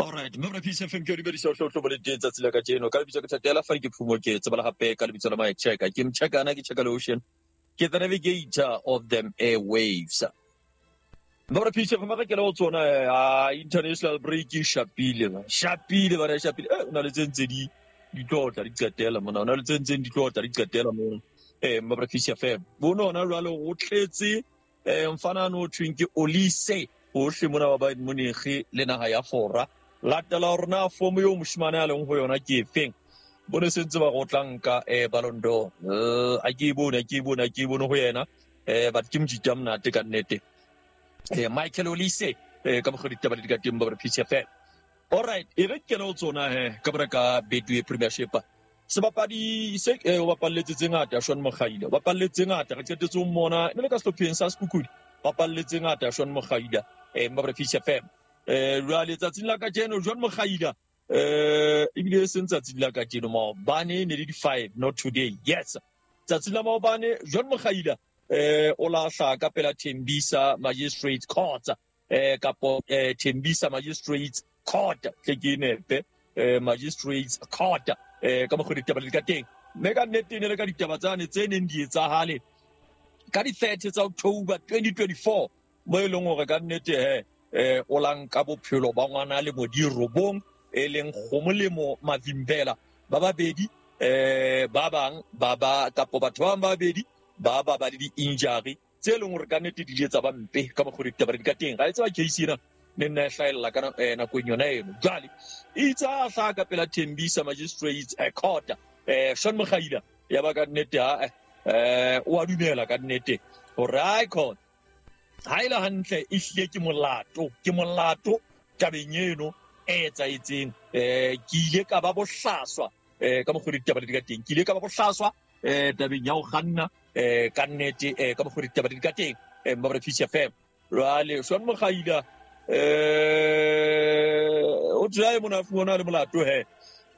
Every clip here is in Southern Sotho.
Alright, mme Peace FM ke o dumedisa o hlotlo bo le teng tsatsi la kajeno. Ka lebitso ke Thatela fa ke phumo ke tsebala hape ka lebitso la Mike Checker. Ke mchekana ke checka le ocean. Ke the navigator of them airwaves. Mme Peace FM ga ke le go tsona international break e shapile ba. Shapile ba shapile. O na le tse ntse di di tlotla di qetela mona. O na le tse ntseng di tlotla di qetela mona. Mme Peace FM. Bono hona jwale go tletse mfana no thweng ke Olise hohle mona ba Bayern Munich le naha ya Fora. Latela hore na fomo eo moshimane a leng ho yona ke efeng. Bone se ntse ba go tla nka Ballon d'Or. A ke e bone, a ke e bone, a ke e bone ho yena. But ke mojita monate ka nnete. Michael Olise ka mokgwa ditaba di ka teng ba Peace FM. Alright, e re kene ho tsona he ka bora ka Betway Premiership. Sebapadi se o bapalletse tse ngata Shaun Mokgaila, o bapalletse tse ngata re qetetse ho mmona ne le ka sehlopheng sa Sekhukhune, bapalletse ngata Shaun Mokgaila ba Peace FM. Jwale tsatsing la kajeno Shaun Mokgaila ebile e seng tsatsing la kajeno maobane ne le di 5 not today. Yes. Tsatsing la maobane Shaun Mokgaila o lahla ka pela Tembisa Magistrates Court kapo Tembisa Magistrates Court tle ke nepe Magistrates Court ka mokgwa ditaba di ka teng. Mme ka nnete ne le ka ditaba tsane tse neng di etsahale ka di 30 tsa October 2024 mo e leng hore ka nnete he o lanka bophelo ba ngwana le modirobong e leng Kgomolemo Mavimbela ba babedi ba bang ba ba kapo batho ba bang ba babedi ba ba ba le di-injury tse leng hore ka nnete di ile tsa ba mpe ka mokgwa ditaba di ka teng. Ga e tseba case ena ne nna e hlahella ka nakong yona eno. Jwale itse a hlaha ka pela Tembisa Magistrates Court Shaun Mokgaila ya ba ka nnete ha o a dumela ka nnete hore ai khona ha ile hantle e hlile ke molato tabeng eno e etsahetseng. Ke ile ka ba bohlaswa ka mokgwa ditaba di ka teng, ke ile ka ba bohlaswa tabeng ya ho kganna ka nnete ka mokgwa ditaba di ka teng ba Peace FM. Jwale Shaun Mokgaila o tla e mona fumana le molato he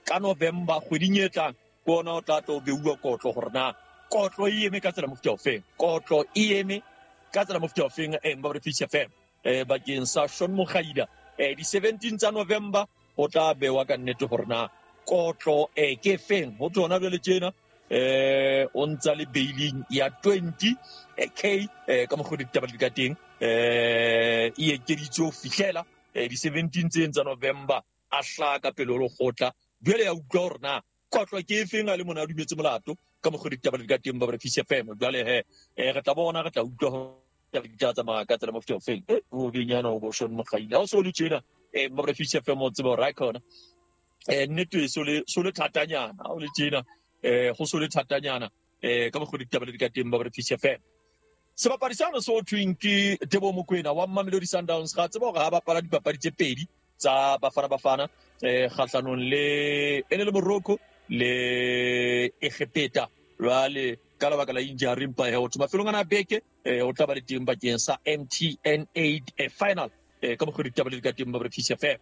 ka November kgweding e tlang ke ona o tla tlo beuwa kotlo hore na kotlo e eme ka tsela mofuta ofeng, kotlo e eme ka tsela mofuta ofeng ba Peace FM bakeng sa Shaun Mokgaila di 17 tsa November o tla bewa ka nnete hore na kotlo ke feng. Ho tsona jwale tjena o ntsa le bailing ya 20 k ka mokgwa ditaba di ka teng e ekeditswe ho fihlela di 17 tse tsa November a hlaha ka pele ho lekgotla. Jwale ya utlwa hore na kotlo ke efeng a le mona a dumetse molato ka mokgwa ditaba di ka teng ba Peace FM. Jwale he re tla bona, re tla utlwa hore di tla tsamaya ka tsela mofuta ofeng. O benyana o bo Shaun Mokgaila ha o so le tjena ba Peace FM o tseba hore khona nnete so le thatanyana ha o le tjena go so le thatanyana ka mokgwa ditaba di ka teng ba Peace FM. Sebapadi sano se ho thweng ke Teboho Mokoena wa Mamelodi Sundowns ga tseba hore ha bapala dipapadi tse pedi tsa Bafana Bafana kgahlanong le ene le Morocco le Egepeta. Jwale ka lebaka la injury mpa he ho mafelong ana beke o tla ba le teng bakeng sa MTN 8 final ka mokgwa ditaba di ka teng ba Peace FM.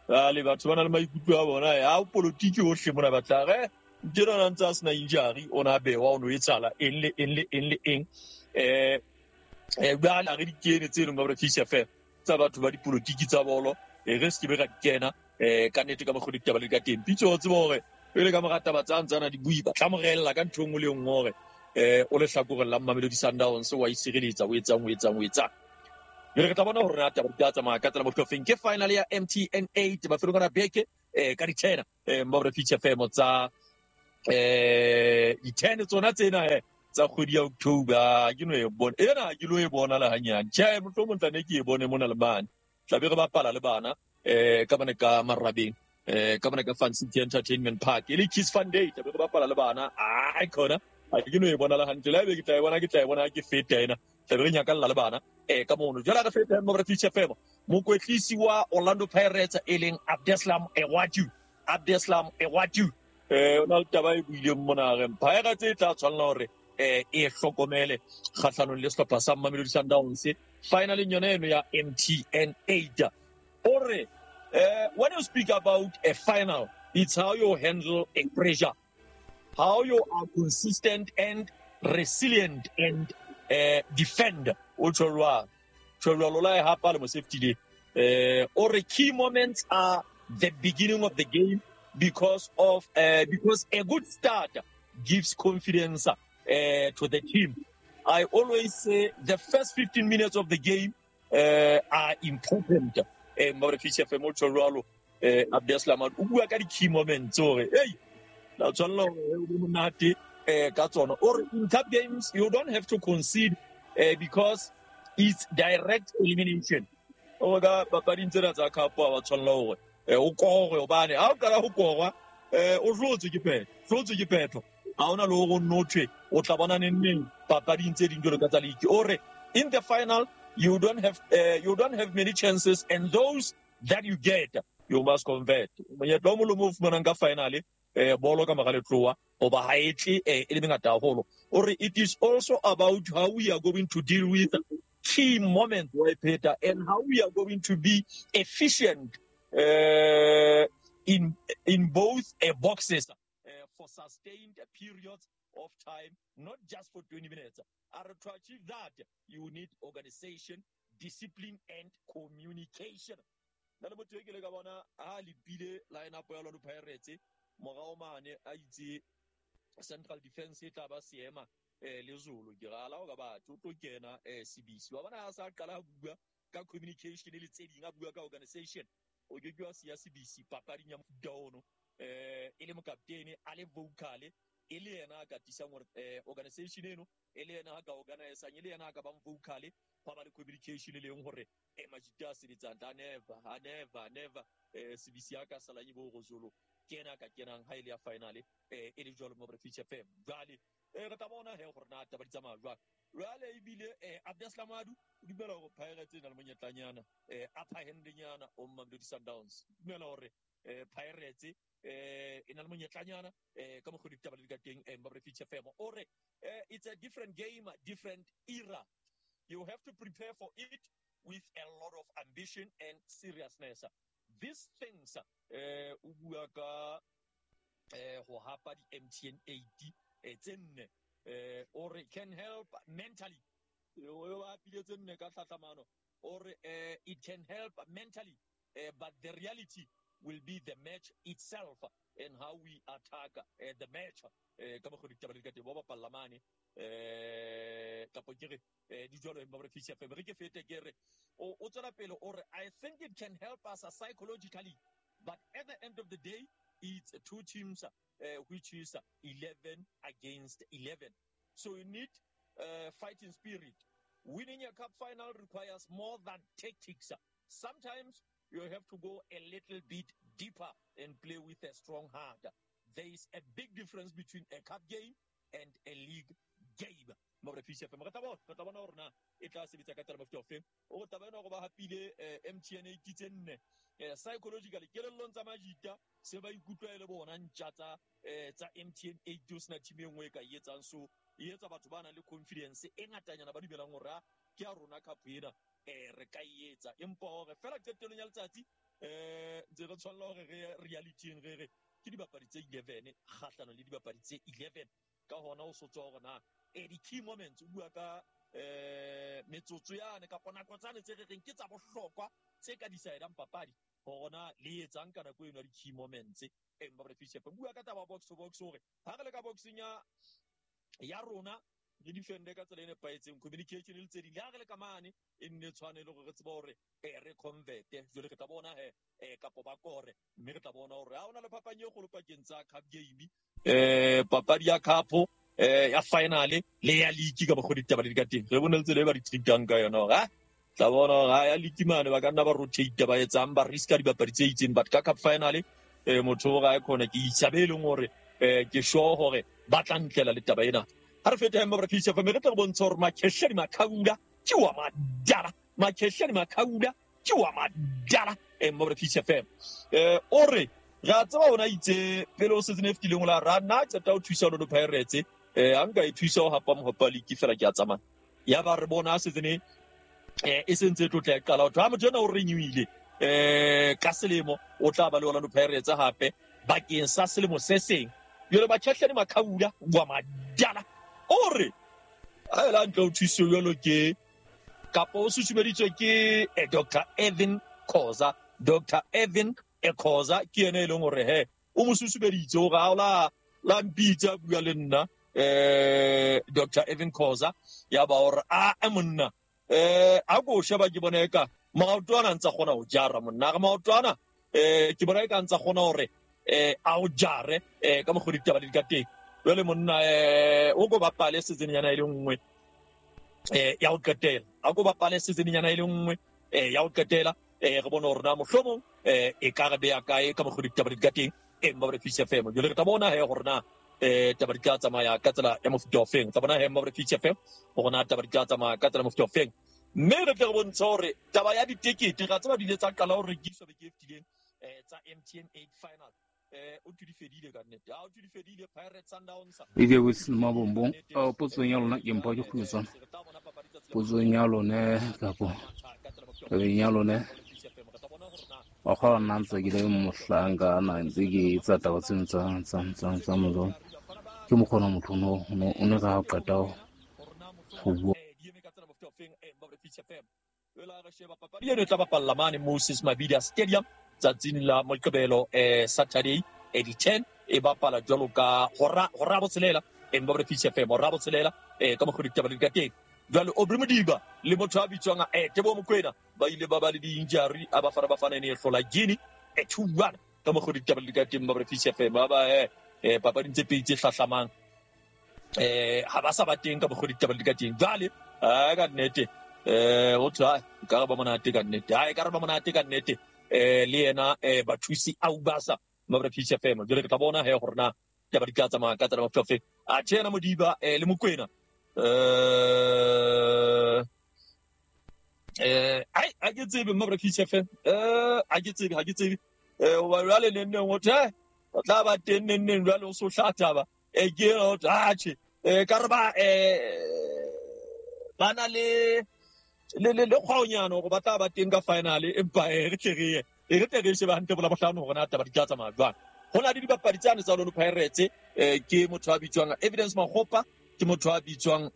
Jwale batho ba na le maikutlo a bona ha politiki hohle mona batla re ntena na ntse a sena injury o na bewa o no etsala eng le eng le eng le eng jwale re di kene tse leng ba Peace FM tsa batho ba dipolitiki tsa bolo re se ke be ra kena ka nnete ka mokgwa ditaba di ka teng. Pitso o tseba hore pele ka mora taba tsa ntsana di bui ba tla morella ka ntho engwe le engwe hore o le hlakoreng la Mamelodi Sundowns wa isireletsa o etsang o etsang o etsang. Jwale re tla bona hore na taba di tla tsamaya ka tsela mohlofeng. Ke final ya MTN 8 mafelong ana beke ka di 10 ba Peace FM tsa di 10 tsona tsena tsa kgwedi ya October. Ke no e bona ena ke lo e bona le hanyane. Tjhe mohlomong tla ne ke e bone mona le mane. Tla be re bapala le bana ka bane ka Marabeng ka bane ka Fun City Entertainment Park e le Kids Fun Day. Tla be re bapala le bana ai khona a ke no e bona le hantle la be ke tla e bona ke tla e bona ke feta ena. Tla be re nyakalla le bana ka mono. Jwale re feta mo Peace FM. Mokwetlisi wa Orlando Pirates e leng Abdeslam Ewatu, Abdeslam Ewatu o na le taba e buileng mona re Pirates e tla tshwanela hore e hlokomele kgahlanong le sehlopha sa Mamelodi Sundowns finaleng yona eno ya MTN 8. O re when you speak about a final, it's how you handle a pressure, how you are consistent and resilient and defend. O tjho jwalo, tjho jwalo la e hapa le mo safety le. O re key moments are the beginning of the game because a good start gives confidence to the team. I always say the first 15 minutes of the game are important. Mmabre Fish FM o tjho jwalo, Abdeslam o bua ka di-key moments hore hey, la tshwanela hore o be monate ka tsona. O re in cup games you don't have to concede because it's direct elimination. O ka papading tsena tsa cup ha wa tshwanela hore o kore, hobane ha o qala ho korwa, o hlotswe ke phetho, hlotswe ke phetho. Ha hona le hore o nno thwe o tla bona neng neng papading tse ding jwalo ka tsa league. O re in the final you don't have many chances, and those that you get you must convert. Monyetla o mong le o mong o fumanang ka final, bolo ka mora letlowa, hoba ha e tle e le mengata haholo. O re it is also about how we are going to deal with key moments, wa e pheta, and how we are going to be efficient in both boxes for sustained periods of time, not just for 20 minutes. And to achieve that, you need organization, discipline, and communication. Nna le motho e ke le ka bona ha lepile line up ya Orlando Pirates morao mane, a itse central defense e tla ba seema le Zulu. Ke ra la o ka batho o tlo kena Sibisi wa bona ha sa qala a bua ka communication le tse ding, a bua ka organization, o ke ke wa siya Sibisi papading ya mofuta ono, e le mokaptene, a le vocal, e le yena a ka tisang hore organization eno, e le yena a ka organizang, e le yena a ka bang vocal, hwa ba le communication e leng hore majita a sebetsang a never, a never, never Sibisi a ka salang e bo go Zulu ke yena a ka kenang ha e le ya final, e le jwalo mo Feature FM. Jwale re tla bona he gore na taba di tsamaya jwang. Jwale ebile Abdeslam Adu o dumela hore Pirates e na le monyetlanyana, upper hand-nyana o Mamelodi Sundowns. Dumela hore Pirates e na le monyetlanyana ka mokgwa ditaba di ka teng. Mmabre Feature FM o re it's a different game, different era. You have to prepare for it with a lot of ambition and seriousness. These things, o bua ka ho hapa di-MTN 8 tse nne, o re can help mentally. O ba hapile tse nne ka tlhatlhamano. O re it can help mentally, but the reality will be the match itself and how we attack the match. Ka mokgwa ditaba di ka teng, ba bapalla mane, kapo ke re di jwalo. Mmabre Fish FM, re ke fete ke re o tswela pele, o re I think it can help us psychologically, but at the end of the day it's two teams, which is 11 against 11, so you need fighting spirit. Winning a cup final requires more than tactics. Sometimes you have to go a little bit deeper and play with a strong heart. There is a big difference between a cup game and a league game. Mmabre Fish FM, re tla bona hore na e tla sebetsa ka tsela mofuta ofeng. O taba ena hore ba hapile MTN 8 tse nne, psychologically, kelellong tsa majita se ba ikutlwa e le bona ntja tsa MTN 8, o sena team e nngwe e ka e etsang. So e etsa batho ba nang le confidence e ngatanyana, ba dumelang hore a ke ya rona cup ena, re ka e etsa. Empa hore fela qetellong ya letsatsi, ntse re tshwanela hore re realityng, re re ke dibapadi tse 11 kgahlano le dibapadi tse 11. Ka hona o so tswa hore na di-key moments, o bua ka metsotso yane kapa nako tsane tse re reng ke tsa bohlokwa, tse ka decidang papadi, hore na le etsang ka nako eno ya di-key moments. Mmabre Fish FM bua ka taba box to box, hore ha re le ka boxing ya rona re defende ka tsela e nepahetseng, communication le tse ding, le ha re le ka mane e nne tshwane le hore re tseba hore re converte. Jwale re tla bona he, kapo ba kore, mme re tla bona hore ha hona le phapang e kgolo pakeng tsa cup game, papadi ya cup ya final le ya league, ka mokgwa ditaba di ka teng. Re bone le tsela e ba di treatang ka yona, hore ha tla bona hore ha ya league mane ba ka nna ba rotate, ba etsang, ba riska dibapadi tse itseng, but ka cup final, motho o ga e khona ke isa be e leng hore ke sure hore ba tla ntlela le taba ena. Ha re fete Mmabre Fish FM, re tla re bontsha hore Makhesheni Makhaula ke wa madala, Makhesheni Makhaula ke wa madala. Mmabre Fish FM o re re a tseba ona itse pele o season e fetileng, o la ra nna qeta ho thusa Orlando Pirates, ha nka e thusa ho hapa mohope league fela ke a tsamaya. Ya ba re bona season e sentse e tlotla e qala, ho thwe ha motho ena o renewile ka selemo, o tla ba le Orlando Pirates hape bakeng sa selemo se seng. Jwale Makhesheni Makhaula wa madala o re ha ela ntle ho thuso jwalo ke kapa o susumeditswe ke Dr Evan Khoza, Dr Evan Khoza ke yena e leng hore he o mo susumeditse hore ha la la mpitsa bua le nna Dr. Irvin Khoza ya ba hore a monna a go sheba ke bona eka maoto ana ntsa kgona ho jara monna re maoto ana ke bona eka ntsa kgona hore a o jare ka mokgwa ditaba di ka teng. Jwale monna o go bapale season nyana e le nngwe ya ho qetela, a go bapale season nyana e le nngwe ya ho qetela, re bone hore na mohlomong e ka re beya kae ka mokgwa ditaba di ka teng. Mmabre Fish FM jwale re tla bona he hore na taba di tla tsamaya ka tsela ya mofuta ofeng. Tla bona he Mmabre Fish FM hore na taba di tla tsamaya ka tsela ya mofuta ofeng, mme re tle re bontshe hore taba ya ditekete ra tseba di ile tsa qala ho rekiswa beke e fetileng tsa MTN 8 final. O di fedile ka nnete, ha o di fedile Pirates Sundowns e ke se mabombong. Potsong ya lona ke mpha ke kgutsa potsong ya lona kapo tabeng ya lona wa kgona nna ntse ke le mohlanka na ntse ke etsa taba tseno tsa mozo ke mokgona motho o ne ka qeta ho bua. Papadi eno e tla bapalla mane Moses Mabhida Stadium tsatsing la Moqebelo, Saturday di 10, e bapala jwalo ka hora botshelela Mmabre Fish FM hora botshelela ka mokgwa ditaba di ka teng. Jwale Aubrey Modiba le motho a bitswang Teboho Mokoena ba ile ba ba le di-injury a Bafana Bafana e ne e hlola Guinea 2-1 ka mokgwa ditaba di ka teng. Mmabre Fish FM ba ba papading tse pedi tse hlahlamang ha ba sa ba teng ka mokgwa ditaba di ka teng. Jwale ka nnete o tla ka re ba monate ka nnete, ha e ka re ba monate ka nnete le yena bathusi Aubasa Mmabre Fish FM. Jwale re tla bona he hore na taba di tla tsamaya ka tsela ya mofuta ofe. A tjhe yena Modiba le Mokoena ai a ke tsebe Mmabre Fish FM, a ke tsebe, ha ke tsebe hoba jwale neng neng ho thwe o tla ba teng neng neng jwale o so hla taba ke o tla tjhe ka re ba ba na le le kgwaonyana hore ba tla ba teng ka final, empa re tle re ye re tle re shebe hantle bola bohlano hore na taba di tla tsamaya jwang. Ho na le dibapadi tsane tsa Orlando Pirates, ke motho a bitswang Evidence Makgopa, ke motho a bitswang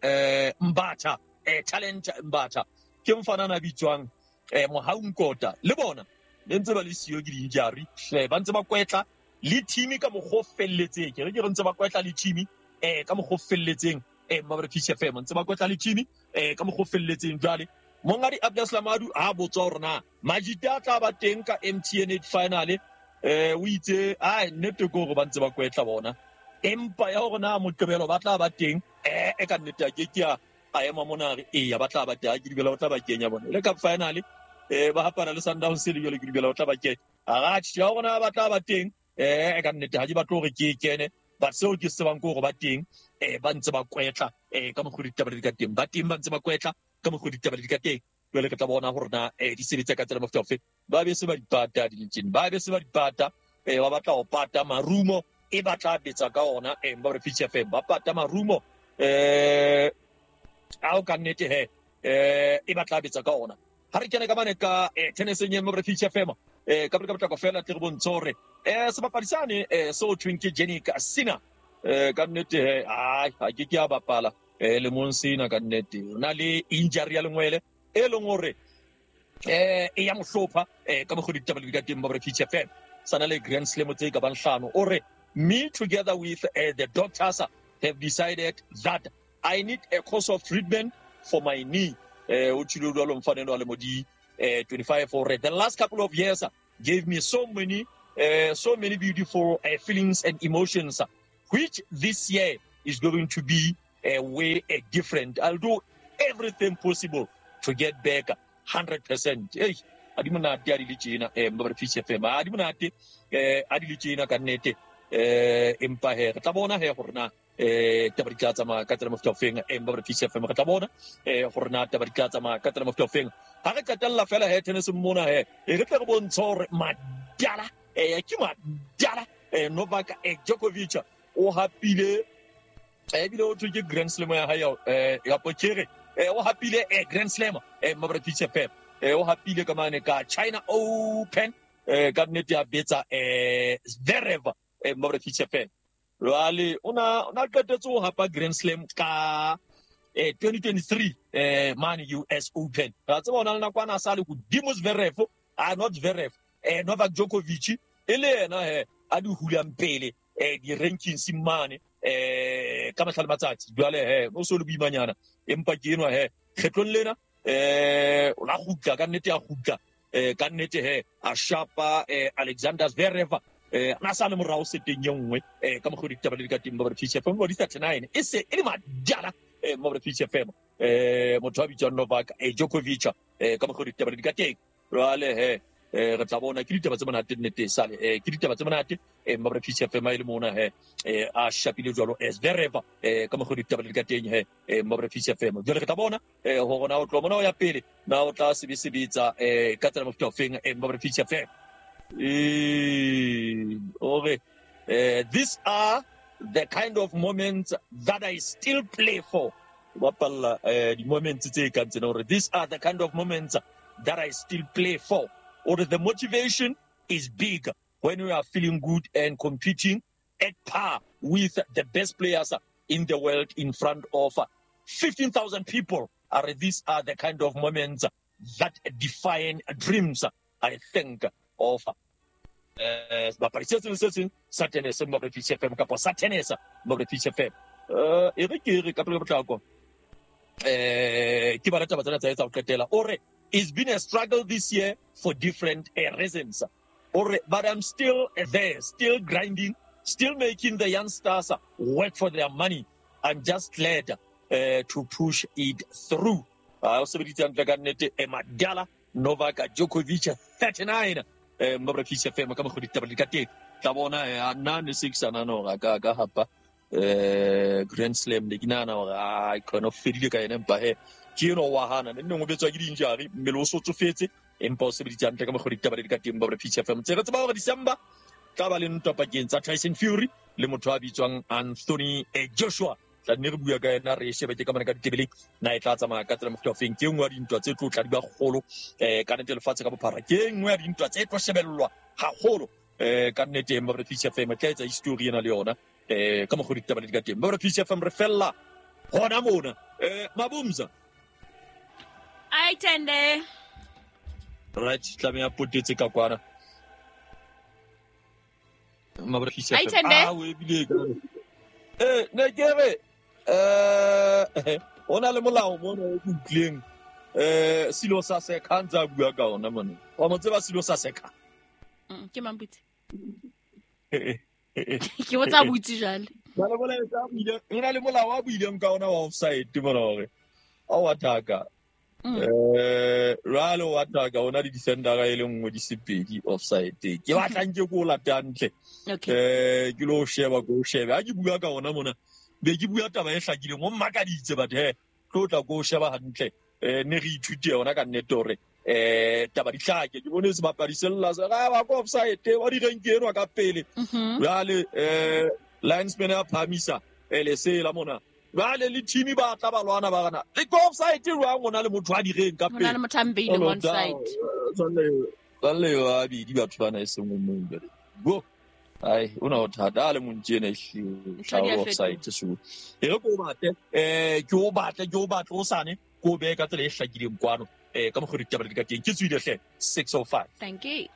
Mbatha, Talent Mbatha, ke mfana a bitswang Mohau Nkota, le bona ne ntse ba le siyo ke di-injury, ba ntse ba kwetla le team ka mokgwa o felletseng. Ke re ke re ntse ba kwetla le team ka mokgwa o felletseng. Mmabre Fish FM ntse ba kwetla le team ka mokgwa o felletseng. Jwale mongadi Abdul Lamadu ha botswa hore na Majita a tla ba teng ka MTN 8 final, o itse ai nnete ke hore ba ntse ba kwetla bona, empa ya hore na Moqebelo ba tla ba teng ka nnete a ke ke a ema mona re eya ba tla ba teng, ke dumela o tla ba kenya bona le ka final ba hapana le Sundowns le jwale ke dumela o tla ba kenya. A tjhe ya hore na ba tla ba teng ka nnete ha ke batle hore ke kene, but seo ke se tsebang ke hore ba teng ba ntse ba kwetla ka mokgwa ditaba di ka teng, ba teng ba ntse ba kwetla ka mokgwa ditaba di ka teng. Jwale re tla bona hore na di sebetsa ka tsela mofuta ofe. Ba be se ba dipata di ba be se ba dipata ba batla ho pata marumo e batla betsa ka ona Mmabre Fish FM ba pata marumo ao ka nnete he e batla betsa ka ona. Ha re kene ka mane ka tenniseng ya Mmabre Fish FM ka potlako fela tle re bontshe hore sebapadi sane seo thweng ke Jannik Sinner ka nnete he ai ha ke ke a bapala lemong sena ka nnete o na le injury ya lengwele e leng hore e ya mohlopha ka mokgwa ditaba di ka teng Mmabre Fish FM sana le Grand Slam tse ka bang hlano. O re me together with the doctors have decided that I need a course of treatment for my knee. O tshilo jwalo mfanelo wa le modi 25 hore the last couple of years gave me so many beautiful feelings and emotions, which this year is going to be way different. I'll do everything possible to get back 100%. Hey, a di monate a di le tjena Mmabre Fish FM, a di monate a di le tjena ka nnete empa he re tla bona he hore na taba di tla tsamaya ka tsela mofuta ofeng. Mmabre Fish FM re tla bona hore na taba di tla tsamaya ka tsela mofuta ofeng. Ha re qetella fela he tennis mona he re tle re bontshe hore madala ke madala Novak Djokovic o hapile ebile o thwe ke Grand Slam ya hae ya Pochere o hapile Grand Slam Mmabre Fish FM o hapile ka mane ka China Open ka nnete ya betsa Zverev Mmabre Fish FM. Jwale o na qetetse ho hapa Grand Slam ka 2023 mane US Open. Ra tseba ona le nakwana a sa le hodimo Zverev, not Zverev, Novak Djokovic e le yena he a di hulang pele di-rankings mane ka mahla le matsatsi. Jwale he o so le boimanyana, empa ke enwa he kgetlong lena o la kgutla ka nnete, a kgutla ka nnete he a shapa Alexander Zverev na sa le morao seteng ye nngwe ka mokgwa ditaba le di ka teng ba Peace FM ba di 39 e se e le madala mo Peace FM motho a bitswang Novak Djokovic ka mokgwa ditaba le di ka teng. Jwale he re tla bona ke ditaba tse monate nnete sale ke ditaba tse monate mo Peace FM e le mona he a shapile jwalo Zverev ka mokgwa ditaba le di ka teng he mo Peace FM. Jwale re tla bona hore na o tlo mona o ya pele na o tla sebetsa ka tsela mofuta ofeng mo Peace FM. Ore these are the kind of moments that I still play for. Bapalla di moments tse kang tsena, hore these are the kind of moments that I still play for. Or the motivation is big when you are feeling good and competing at par with the best players in the world in front of 15,000 people. Are these are the kind of moments that define dreams, I think, of sebapadi se seng se seng sa tennis mo Peace FM kapa sa tennis mo Peace FM. E re ke re ka pele potlako ke bala taba tsena tsa etsa ho qetela. O re it's been a struggle this year for different reasons. Or but I'm still there, still grinding, still making the youngsters work for their money. I'm just glad to push it through. O sebeditse hantle ka nnete madala Novak Djokovic 39 mo Peace FM ka mokgwa ditaba di ka teng. Tla bona nna ne se ke sa nahana hore a ka hapa Grand Slam, ne ke nahana hore a khona o fedile ka yena, empa he ke eno wa hana ne nngwe betswa ke di-injury, mmele o so tsofetse, empa o sebeditse hantle ka mokgwa ditaba di ka teng mo Peace FM. Tse re tseba hore December tla ba le ntwa pakeng tsa Tyson Fury le motho a bitswang Anthony Joshua. Tla nne re bua ka yena, re shebe ke ka mona ka ditebeleng na e tla tsamaya ka tsela mofuta ofeng. Ke e nngwe ya dintwa tse tlo tla di ba kgolo ka nnete lefatshe ka bophara, ke e nngwe ya dintwa tse tlo shebellwa haholo ka nnete mo Peace FM. Tla etsa history ena le yona ka mokgwa ditaba le di ka teng mo Peace FM. Re fella hona mona Mabumza ai tende right tlameha potetse ka kwana mo Peace FM. Ah we bile ka ne ke re ona le molao mona o utlwileng silo sa seka ntse a bua ka ona mona. Wa mo tseba silo sa seka? Ke mambutse. Ke botsa butse jwale. Ba le molao a buileng ka ona wa offside mona hore a wa taka. Ralo wa taka ona di defendera e le nngwe di sepedi offside. Ke batla nke ko lata hantle. Ke lo sheba ko shebe. Ha ke bua ka ona mona be ke bua taba e hlakileng, o mmakaditse batho he tlo tla ko sheba hantle. Ne re ithute yona ka nnete hore taba di hlake. Ke bone sebapadi se lla se ra ba ko offside wa di renke enwa ka pele. Jwale linesman a phamisa lesela mona. Jwale le team ba tla ba lwana ba rana le ko offside jwang ona le motho a direng ka pele. Ona le motho a mbeile on side. Tsale wa bidi batho bana e seng mong jwale. Go ai una o thata le montjene e offside so. E re ko batle ke o batle ke o batle o sane ko be ka tsela e hlakileng kwano ka mokgwa ditaba di ka teng. Ke tswile hle 6:05. Thank you.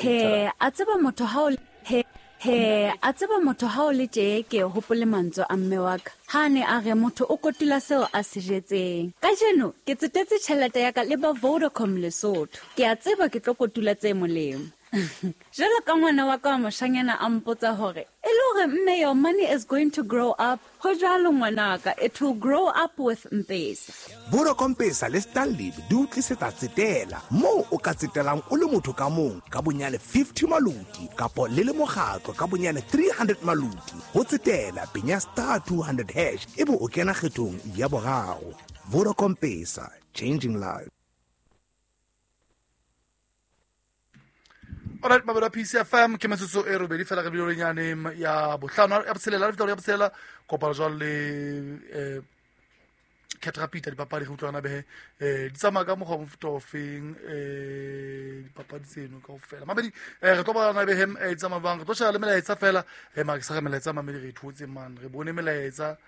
He a tseba motho ha o he a tseba motho ha o le tje ke hopole mantswe a mme wa ka ha ne a re motho o kotula seo a se jetseng. Kajeno ke tsetetse tjhelete ya ka le ba Vodacom Lesotho. Ke a tseba ke tlo kotula tse molemo. Jwalo ka ngwana wa ka wa moshanyana a mpotsa hore e le hore mme your money is going to grow up. Ho jwalo ngwanaka, it will grow up with M-Pesa. Vodacom Pesa le Stanley di o tlisetsa tsetela moo o ka tsetelang o le motho ka mong ka bonyane 50 maluti kapo le le mokgatlo ka bonyane 300 maluti. Ho tsetela penya *200# ebe o kena kgethong ya boraro. Vodacom Pesa, changing lives. Alright, mabelo Peace FM ke metsotso e robedi fela re bile nyane ya bohlano ya botshelela re fitla ya botshelela kopano jwale le Caterpillar dipapadi re utlwana behe di tsamaya ka mokgwa mofuta ofeng dipapadi tseno kaofela mabedi re tlo bona behe di tsamaya bang re tlo sheba le melaetsa fela mara ke sa re melaetsa mamedi re thotse man re bone melaetsa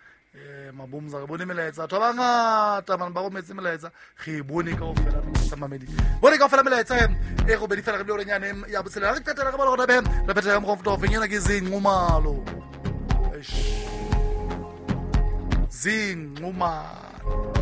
Mabomza re bone melaetsa batho ba bangata mane ba rometse melaetsa re e bone kaofela melaetsa mamedi bone kaofela melaetsa e robedi fela re bile orenyane ya botshelela re qetela re bala gona be re phetha ka mokgwa mofuta ofeng ena ke zinqumalo. Eish. Zinqumalo.